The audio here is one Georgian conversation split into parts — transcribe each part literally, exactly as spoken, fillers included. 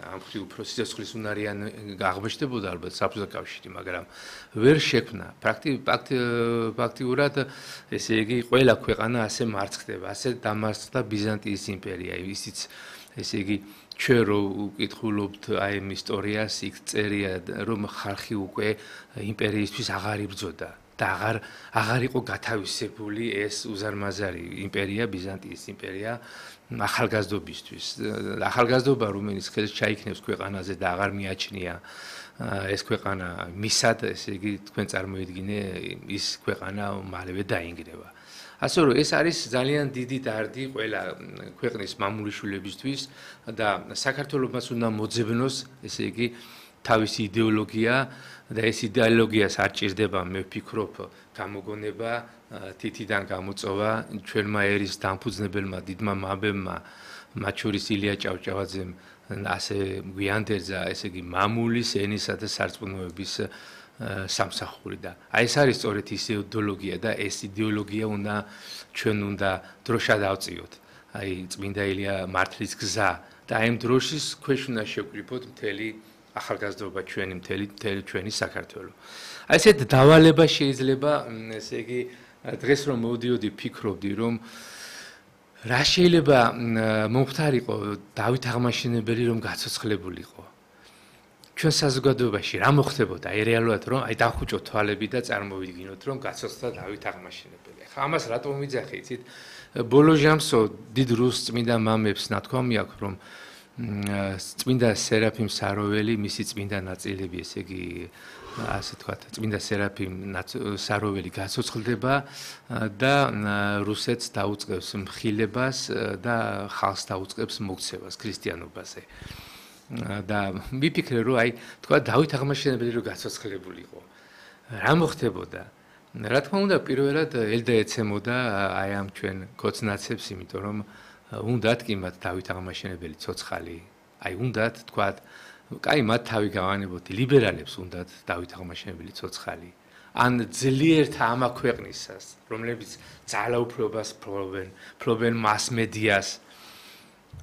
ამ ხრი უფრო სიცოცხლის უნარიან აღმოჩნდებოდა ალბათ საბჭოთა კავშირი, მაგრამ ვერ შექმნა. ფაქტიურად ესე იგი ყველა ქვეყანა ასე მარცხდება, ასე დამარცხდა ბიზანტიის იმპერია, ისიც ესე იგი ჩვენ რო ვკითხულობთ აი ამ ისტორიას, იქ წერია რომ ხალხი უკვე იმპერიისთვის აღარ იბრძოდა და აღარ აღარ იყო გათავისებული ეს უზარმაზარი იმპერია, ბიზანტიის იმპერია ახალგაზრდობისთვის. ახალგაზრდობა რომელიც ხელს ჩაიქნევს ქვეყანაზე და აღარ მიაჩნია ეს ქვეყანა მისად, ესე იგი თქვენ წარმოიდგინე ის ქვეყანა მალევე დაინგრევა. ასე რომ ეს არის ძალიან დიდი დარდი ყველა ქვეყნის მამულიშვილებისთვის და საქართველოს უნდა მოძებნოს, ესე იგი თავისი იდეოლოგია და ეს იდეოლოგიას არ ჭირდება, მე ვფიქრობ, გამოგონება, თითიდან გამოწვევა ჩვენმა ერის დამფუძნებელმა დიდმა მამებმა, მათ შორის ილია ჭავჭავაძემ ასე გვიანდერძა, ესე იგი მამულის ენისა და სარწმუნოების სამსახური და აი ეს არის სწორედ ის იდეოლოგია და ეს იდეოლოგია უნდა ჩვენ უნდა დროშად ავწიოთ. აი წმინდა ილია მართლის გზა და აი ამ დროშის ქვეშ უნდა შევკრიფოთ მთელი ახალგაზრდობა ჩვენი მთელი მთელი ჩვენი საქართველო. აი ესეთ დავალება შეიძლება, ესე იგი დღეს რომ მოვდიოდი ფიქრობდი რომ რა შეიძლება მომხდარიყო დავით აღმაშენებელი რომ გაცოცხლებულიყო. ჩვენ საზოგადოებაში რა მოხდებოდა აი რეალურად რომ აი დახუჭოთ თვალები და წარმოვიდგინოთ რომ გაცოცხლდა დავით აღმაშენებელი. ხა ამას რატომ ვიძახი იცით? ბოლო ჟამსო დიდ რუს წმინდა მამებს ნათქვამი აქვს რომ წმინდა სერაფიმ საროველი მისი წმინდა ნაწილები, ესე იგი ასე თქვა, წმინდა სერაფიმ საროველი გაცოცხლდება და რუსეთს დაუწყებს მხილებას და ხალხს დაუწყებს მოქცევას ქრისტიანობაზე. და მიფიქრე რომ აი თქვა დავით აღმაშენებელი რო გაცოცხლებულიყო რა მოხდებოდა? რა თქმა უნდა პირველად ელდა ეცემოდა აი ამ ჩვენ კოცნაცებს, იმიტომ რომ უნდათ კი მათ დავით აღმაშენებელი ცოცხალი, აი უნდათ თქვა, კაი მათ თავი გავანებოთ, ლიბერალებს უნდათ დავით აღმაშენებელი ცოცხალი. ან ძლიერთ ამა ქვეყნისას, რომლებიც ძალაუფლებას ფლობენ, ფლობენ მასმედიას.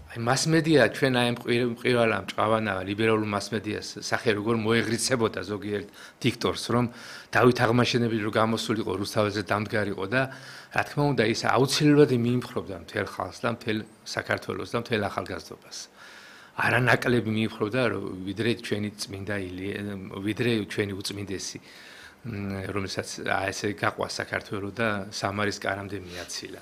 აი მასმედია ჩვენ აი მყივალა მჭყავანა ლიბერალურ მასმედიას სახე როგორ მოეღრიცებოდა ზოგიერთ დიქტორს რომ დავით აღმაშენებელი რო გამოსულიყო რუსთაველზე დამდგარიყო და რა თქმა უნდა ის აუცილებლად მიიმხრობდა მთელ ხალხს და მთელ საქართველოს და მთელ ახალგაზრდობას. არანაკლები მიიმხრობდა ვიდრე ჩვენი წმინდა ილია, ვიდრე ჩვენი უწმინდესი, რომელსაც ესე გაყვა საქართველო და სამარის კარამდე მიაცილა.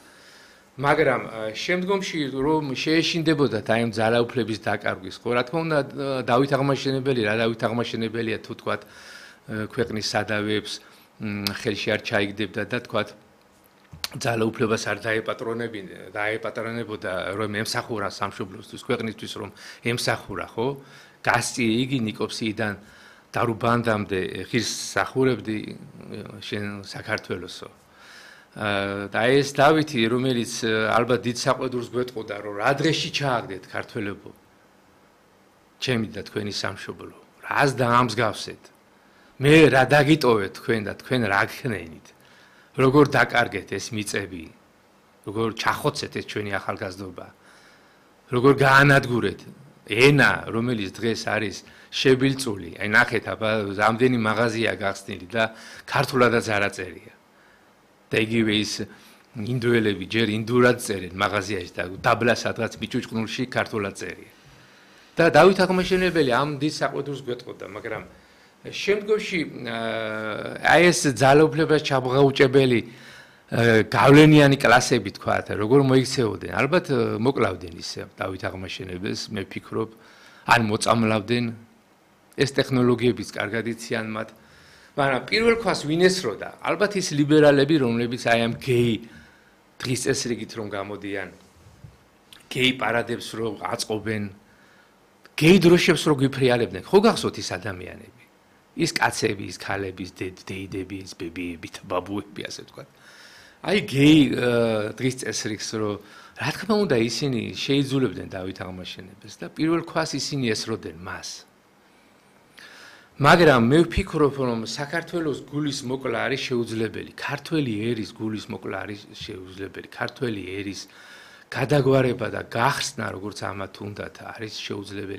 მაგრამ შემდგომში რომ შეეშინდებოდა აი ამ ძალაუფლების დაკარგვის, ხო რა თქმა უნდა დავით აღმაშენებელი რა დავით აღმაშენებელია თუ თქვა ქვეყნის სადავეებს ხელში არ ჩაიგდებდა და თქვა ძალაუფლებას არ დაეპატრონებინდა, დაეპატრონებოდა რომ ემსახურა სამშობლოსთვის, ქვეყნისთვის რომ ემსახურა, ხო? გასწი იგი ნიკოფსიიდან დარუბანდამდე ღირს სახურებდი შენ საქართველოსო. და ეს დავითი, რომელიც ალბათ დიდ საყვედურს გვეტყოდა, რომ რა დღეში ჩააგდეთ ქართველებო, ჩემი და თქვენი სამშობლო, რას დაამსგავსეთ, მე რა დაგიტოვეთ თქვენ და თქვენ რა გქნენით, როგორ დაკარგეთ ეს მიწები, როგორ ჩახოცეთ ეს ჩვენი ახალგაზრდობა, როგორ გაანადგურეთ ენა, რომელიც დღეს არის შებილწული, აი ნახეთ აბა რამდენი მაღაზია გახსნილი და ქართულადაც არ აწერია. და იგივე ის ინდოელები ჯერ ინდურად წერენ მაღაზიაში და დაბლა სადღაც მიჭუჭყნულში ქართულად წერია. და დავით აღმაშენებელი ამ დიდ საყვედურს გვეტყოდა, მაგრამ შემდგომში აი ეს ძალაუფლებას ჩაბღაუჭებელი გავლენიანი კლასები თქვათ, როგორ მოიქცეოდნენ, ალბათ მოკლავდნენ ისე დავით აღმაშენებელს, მე ვფიქრობ, ან მოწამლავდნენ, ეს ტექნოლოგიებიც კარგად იციან მათ. მაგრამ პირველ ქვას ვინ ესროდა? ალბათ ის ლიბერალები, რომლებიც აი ამ გეი დღის წესრიგით რომ გამოდიან, გეი პარადებს რომ აწყობენ, გეი დროშებს რომ გვიფრიალებდნენ. ხო გახსოვთ ის ადამიანები? ის კაცები, ის ქალები, ის დეიდები, ის ბებიები, ბაბუები, ასე ვთქვათ. აი გეი დღის წესრიგს რომ რა თქმა უნდა ისინი შეიძულებდნენ დავით აღმაშენებელს და პირველ ქვას ისინი ესროდნენ მას. მაგრამ მე ვფიქრობ, რომ საქართველოს გულის მოკლა არის შეუძლებელი, ქართველი ერის გულის მოკლა არის შეუძლებელი, ქართველი ერის გადაგვარება და გახსნა, როგორც ამათ უნდათ, არის შეუძლებელი